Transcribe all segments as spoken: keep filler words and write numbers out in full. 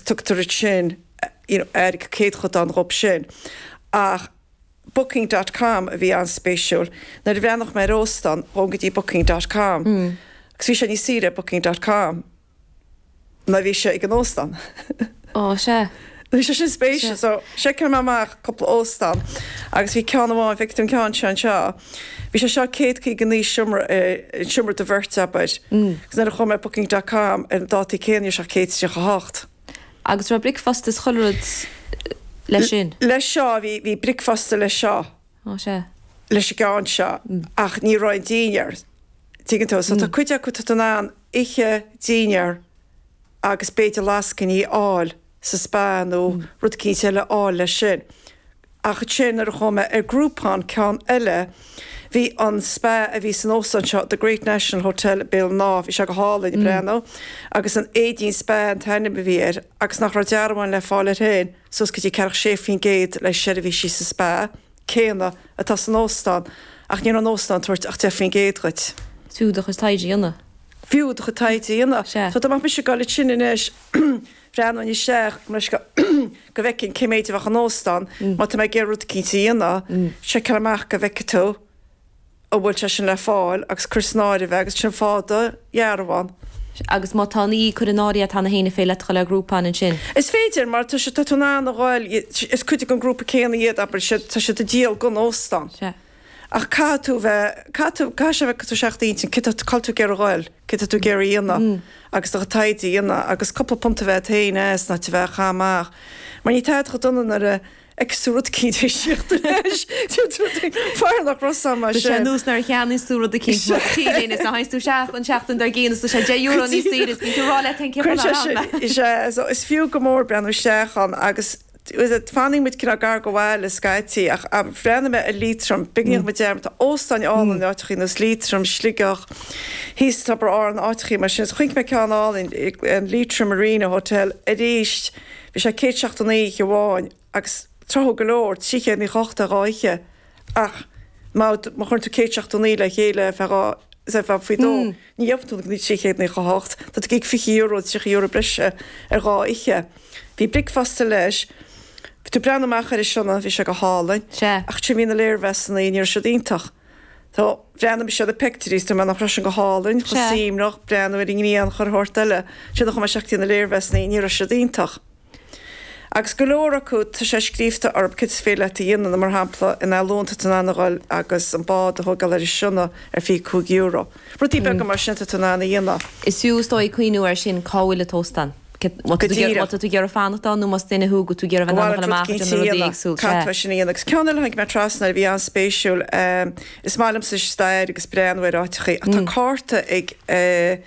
tugtar sin you know, ar céadchodán dhób sin. Ach Booking dot com a bhí an-spéisiúil. Nuair a bhreathnaigh mé ar óstán, ghabh go dtí Booking dot com. Mm. Agus bhí sé níos saoire Booking dot com ná bhí sé ag an óstán. Ó, sé. Bhí sé sin spéisiúil, so seiceáil mé amach cúpla óstán agus bhí ceann amháin, bhí an ceann seo anseo. Bhí sé seo céad caoga naoi seomra, seomra do bheirt, abair. Agus nuair a chuaigh mé Booking dot com ar an dátaí céanna, sé céad tríocha hocht. Agus raibh bricfeasta is chuile rud leis sin? Leis seo, bhí bhí bricfeasta leis seo. Ó, sé. Leis an gceann seo, ach ní raibh an dinnéar. Tuigeann tú, so tá cuid acu tá tú in ann oíche, dinnéar agus b'fhéidir lascainí a fháil sa spa nó rud eicínt eile a fháil leis sin. Ach sin nuair a chuaigh mé ar Groupon, ceann eile, bhí an spa a bhí san óstán seo, The Great National Hotel Béal ná, bhí sé go hálainn mm. breathnú, agus an Éidín Spa an t-ainm a bhí air, agus nach raibh dearbháin le fáil air féin, suas go dtí ceathracha sé faoin gcéad le seirbhísí sa spa céanna atá san óstán, ach ní an óstán tabhairt ach deich faoin gcéad dhuit. Fiú do chuid taighde a dhéanamh. Fiú do chuid taighde a dhéanamh. Sea. So dá mbeadh mise ag dul sin anois, breathnú isteach go go bhfeicfinn cé méid a bheadh an óstán, má tá mé ag iarraidh rud eicínt a dhéanamh, seiceáil amach go bhfeicfidh tú an bhfuil sé sin le fáil agus cur san áireamh agus sin fáth do dhearbhán. Agus má tá ní chur in áirithe tá na héine fé le le Groupon ansin. Is féidir, mar tá sé tá tú in ann a ghabháil, is cuid den grúpa céanna iad, abair, tá siad ag díol don óstán. Sea. Ach caithfidh tú bheith caithfidh tú caithfidh sé bheith tú seacht intinn cé tá cá bhfuil tú ag iarraidh a ghabháil, cé tá tú ag iarraidh a dhéanamh agus do taighde a dhéanamh agus cúpla punt a bheith féin as ná a bheith cham amach. Mar ní tá go dona nuair a fheiceann tú rud eicínt síocht leis fear nach raibh mar Tá sé sin. nós nuair a cheannaíonn tú rud eicínt tíléin is a thagann tú isteach an seachtain dár gcionn is tá sé deich euro níos saoire is bíonn tú ag rá leat féin cén Cuireann fáth sé nár sin- is é so is fiú go mór breathnú isteach ann agus fanann muid cineál gar go bhfuil scaití, ach bhreathnaigh mé ar Liatroim, beagnach me deir tá óstáin álainn áiteachaí nós Liatroim, Sligeach, thíos Tobar Árann, áiteachaí mar sin. Chonaic mé ceann álainn, an Leitrim Marina Hotel arís, bhí sé céad seachtó naoi amháin agus tráthúil go leor, trí chéad nócha hocht ar dhá oíche, ach má má chuireann tú céad seachtó naoi le chéile fe dhá se fe faoi dó, ní gheobhaidh tú na trí chéad nócha hocht, tá tú ag fiche euro, tríocha euro breise ar dhá oíche. Bhí bricfeasta leis. Bhí tú breathnú amach ar seo, bhí sé go hálainn. Sea. Ach sin bhí na léirmheasanna, ní raibh siad iontach. Tá bhreathnaigh mise ar na pictiúirí, tú nach raibh sin go hálainn, Sea. chomh suaimhneach, breathnú ar an ngrian chuile shórt eile. Sin chuma seachtaí na léirmheasanna, ní raibh siad iontach. Agus go leor acu tá sé scríofa orthu cad is féidir leat a dhéanamh, mar shampla in Alún tá an ghabháil agus an bád a thógáil ar an Sionna ar fiche cúig euro. Rudaí beaga mar sin tá an a dhéanamh. Is fiú is dóigh cuimhneamh air sin cá bhfuil an t-óstán. Má Go díreach. tá tú ag iarraidh fanacht ann nó más duine thú go tú ag iarraidh bheith amach ag déanamh rudaí éagsúil. Cad sin a dhéanamh, agus ceann eile tháinig mé trasna a bhí an-spéisiúil, is maith liomsa stair agus breathnú ar áiteachaí. Tá cárta ag eh,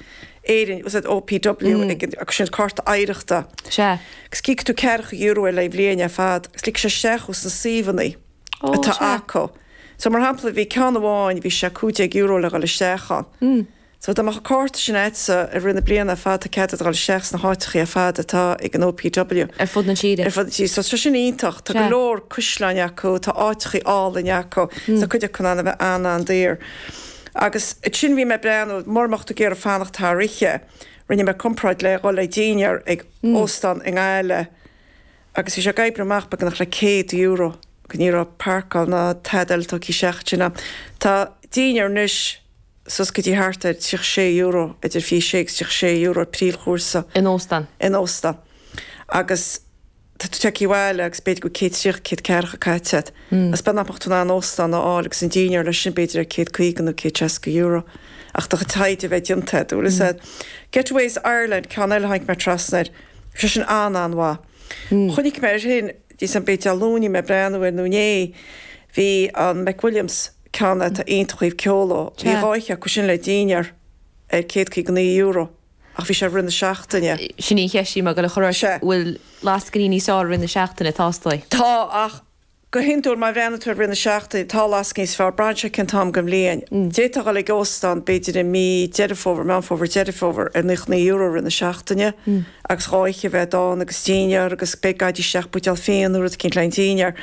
Éirinn was it O P W ag agus sin cárta oidhreachta. Sea. Agus íocann tú ceathracha euro le bhliain ar fad, agus lig sé isteach sna suíomhanna Ó, atá sea. acu. So mar shampla bhí ceann amháin, bhí sé cúig déag euro le dhul isteach ann. So dá mbeadh an cárta sin agatsa i rith na bliana ar fad, tá cead dul isteach sna háiteachaí ar fad atá ag an O P W. Ar fud na tíre. Ar fud na tíre. So tá sin iontach, tá go Sea. leor caisleáin acu, tá áiteachaí álainn acu, tá cuid acu an bheith an an-daor. Agus sin bhí mé breathnú mura mbeadh tú ag iarraidh fanacht thar oíche, rinne mé comparáid le dhul le dinnéar ag óstán i nGaillimh agus bhí sé ag oibriú amach beagnach le céad euro go ní raibh páirceáil ná tada eile tugtha isteach sin. Tá dinnéar anois suas go dtí thart ar tríocha sé euro, idir fiche sé agus tríocha sé euro príomhchúrsa. In óstán. In óstán. Agus tá tú tagtha abhaile agus b'fhéidir go céad tríocha, céad ceathracha caite. Agus b'fhéidir nach mbeadh tú in ann óstán a fháil agus an dinnéar leis sin b'fhéidir ar céad caoga nó céad seasca euro. Ach do chuid taighde a bheith déanta, dúil is Getaways Ireland, ceann eile tháinig mé trasna air. Sé sin an an-mhaith. Chonaic mé ar sin dí san b'fhéidir Luan mé breathnú ar nó inné, bhí an McWilliams, ceann atá iontach ó thaobh ceoil de. Bhí Sea. dhá oíche acu sin le dinnéar ar céad caoga naoi euro ach bhí sé i rith na seachtaine. Sin í cheist mar go le chur Sea. bhfuil lascainí níos fearr i rith na seachtaine tástáí. Tá, ach go hiondúil má bhreathnaíonn tú ar rith na seachtaine tá lascainí níos fearr, braitheann sé cén t-am den bhliain. D'fhéadfá dhul ag óstán b'fhéidir i mí Deireadh Fómhair, Meán Fómhair, Deireadh Fómhair ar naocha naoi euro i rith na seachtaine agus dhá oíche a bheith ann agus dinnéar agus beidh gaidí isteach buidéal fíon nó rud eicínt le an dinnéar.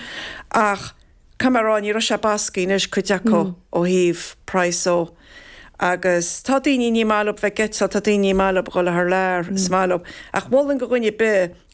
Ach caithfidh mé a rá ní raibh sé bascaí anois cuid acu ó thaobh praghas ó. Agus tá daoine ní maith leo bheith ag eitilt, tá daoine ní maith leo dhul thar lear, is maith leo. Ach mholfainn do dhuine ar bith